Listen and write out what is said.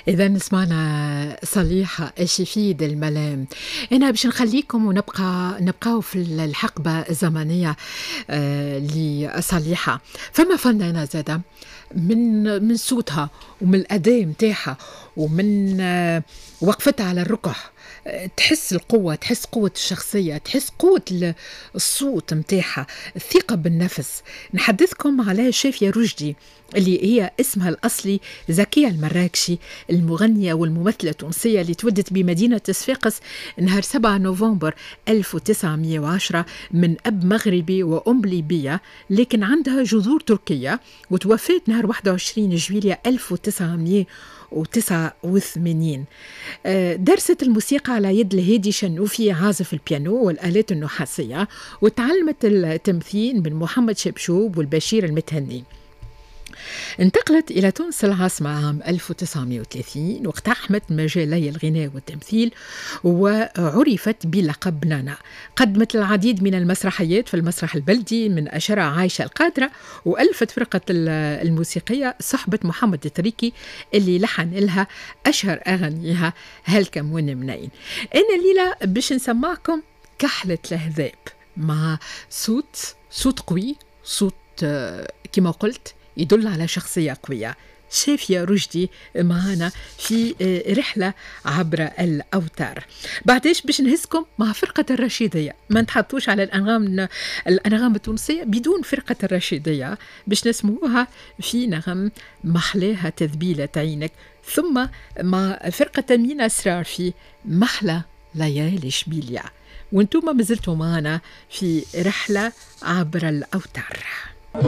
إذا سمعنا صليحة الشفيد الملام. أنا باش نخليكم ونبقى نبقاو في الحقبة الزمنية لصليحة. فما فنانة زادة من صوتها ومن الأداء متاعها ومن وقفتها على الركح، تحس القوة، تحس قوة الشخصية، تحس قوة الصوت متاعها، الثقة بالنفس. نحدثكم على شافية رشدي اللي هي اسمها الأصلي زكية المراكشي، المغنية والممثلة التونسية اللي تولدت بمدينة صفاقس نهار 7 نوفمبر 1910 من أب مغربي وأم ليبية، لكن عندها جذور تركية، وتوفت نهار 21 جويلية 1989. درست الموسيقى على يد الهادي شنوفي عازف البيانو والآلات النحاسية، وتعلمت التمثيل من محمد شبشوب والبشير المتهني. انتقلت إلى تونس العاصمة عام 1930 واقتحمت مجالي الغناء والتمثيل وعرفت بلقب نانا. قدمت العديد من المسرحيات في المسرح البلدي من أشهرها عايشة القادرة، وألفت فرقة الموسيقية صحبة محمد التريكي اللي لحن لها أشهر أغانيها هلكم ونمنين. أنا الليلة باش نسمعكم كحلة الهذاب مع صوت قوي، صوت كما قلت يدل على شخصية قوية. شافية رشدي معنا في رحلة عبر الأوتار. بعدش باش نهزكم مع فرقة الرشيدية، ما نتحطوش على الأنغام التونسية بدون فرقة الرشيدية، باش نسموها في نغم محلاها تذبيلة عينك، ثم مع فرقة مينا أسرار في محلى ليالي شبيليا. وانتم مازلتوا معنا في رحلة عبر الأوتار.